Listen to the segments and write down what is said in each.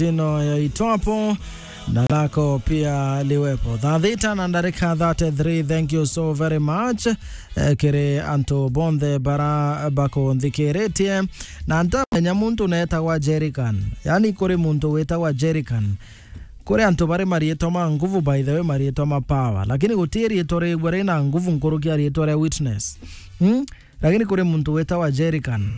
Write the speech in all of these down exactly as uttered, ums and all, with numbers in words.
Tino ya itwapo na lako pia liwepo. Thaa thita na ndarika thirty-three, thank you so very much. Eh, kiri antu bonthe bara bakunthikiritie. Na ntamenya muntu netagwa Jerican. Yani, kuri muntu witagwa Jerican. Kuri antu bari mariitwa ma nguvu, by the way, mariitwa ma power. Lakini guti riitwa rigwe rina nguvu nkuruki ya riitwa ria Witness. Hmm? Lakini kuri muntu witagwa Jerican.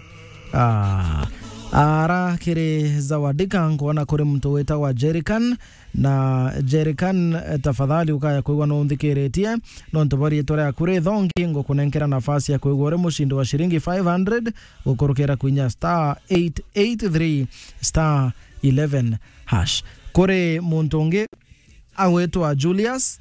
Ah, ara kiri Zawadika, nkwona kuri muntu witagwa Jerican. Na Jerican, eh, tafadhali ukaya kwigua nunthikiritie, nontu bwa riitwa riaku rithongi, ngukunenkera nafasi ya kwigua uri mushindi wa shiringi five hundred, gukurukira kwinya star eight eight three star eleven hash. Kuri muntu ungi agwitwa Julius,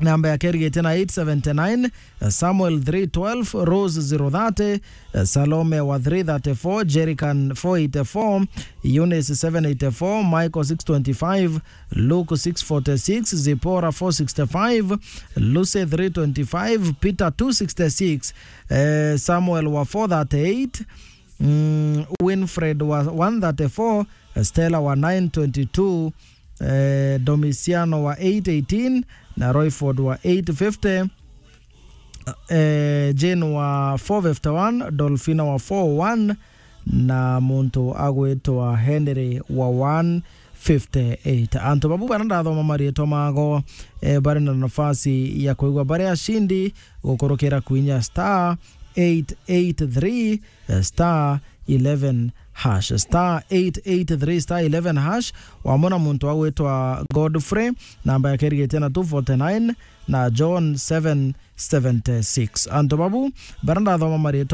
namba yake irigitie na eight seventy-nine, Samuel three twelve, Rose zero thirty, Salome wa three thirty-four, Jerican four eighty-four, Eunice seven eighty-four, Michael six twenty-five, Luke six forty-six, Zipporah four sixty-five, Lucy three twenty-five, Peter two sixty-six, eh, Samuel wa four thirty-eight, mm, Winfred wa one thirty-four, Stella wa nine twenty-two, eh, Domiciano wa eight eighteen, na Royford wa eight fifty, eh, Jane wa four fifty-one, Dolphina wa four oh one, na muntu agwitwa Henry wa one fifty-eight. Antu babu bara ndathoma mariitwa mago, eh, bari na nafasi ya kwigua bari ashindi gukurukira kwinya star eight eight three, eh, star eleven hash, star eight eight three star eleven hash. Wamona muntu agwitwa Godfrey, namba yake irigitie na two forty-nine, na John seven seventy-six. Antu babu bara ndathoma mariitwa